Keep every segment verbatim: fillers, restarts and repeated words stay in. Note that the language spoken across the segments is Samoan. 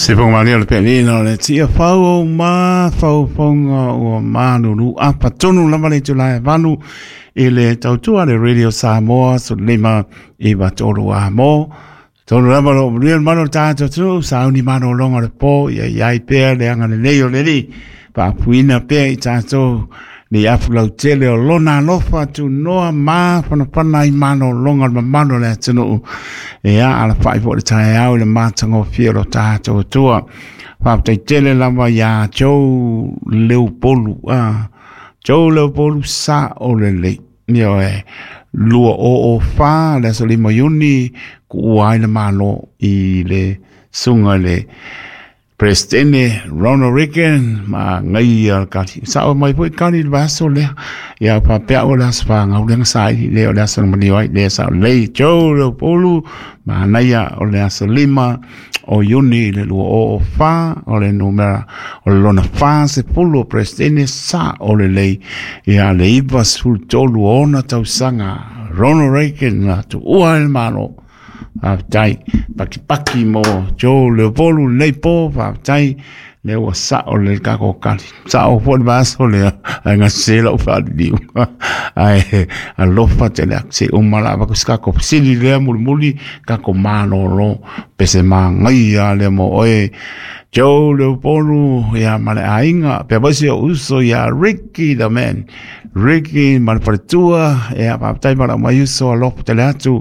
Se whangamania le pēnina o le tia whau o mā whauwhaunga o mānunu apa tonu lama le tula e vanu i le tautua le Radio Samoa so lima i watolu a mō. Tonu lama lo mnuia mano tātou tu sauni mano longa le pō ia iai pēr le anga le nei o le ni pāpuina pēr i tātou ni afu lau tele o lona alofa tu noa mā whanapana i mano longa le mamano le atunuu. E a ala whai po le tae au le mātango fia lo tātou tua. Whaptai tele lava ia Joe Leupolu. Ah, Joe Leupolu sa o le lei. Mio e lua o o wha le aso lima iuni ku ua ai le malo i le sunga le Presidente Ronald Reagan ma ngai al kali sa o mai foi kali le vaso le ia pa pe o la spa ngau le sai le o le aso mani ai le sa le Joe Leupolu ma naia o le aso lima o Iuni le lua o o fa o le numera o le lona fa se pulu Presidente sa o le lei ia le iwa sefulu tolu ona tausaga Ronald Reagan na tu ua le malo. Whaptai, paki paki mo Joe Leupolu nei pō, whaptai, le ua sao le kako kali. Sao fo le vaso le, ai ngā sela o whaliliu. Ai, alofa te le akse umala, waku skako sili lea muli muli, kako mālolo, pese mā ngai a le mo oe. Joe Leupolu, ia male ainga, pea vaisi o uso ia Ricky the man. Ricky ma le faletua, ia faafetai ma lau mai uso alofa tele atu,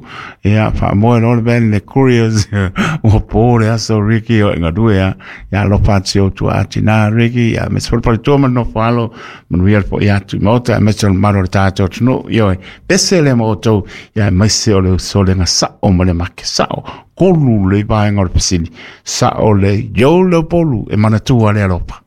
ia faamoe loa le ben le couriers, ua pō le aso Ricky o e galue a, ia alofa atu i o tua atinā Ricky, ia me se faletua ma le nofo alo, manuia le fo'i atu i maota, aemaise o le mamalu o le tatou atunuu, ioe, pese le ma outou, ia aemaise o le uso le gasa'o ma le make sa'o, kolu le vaega o le fesili, sa'o le Joe Leupolu e manatua le alofa.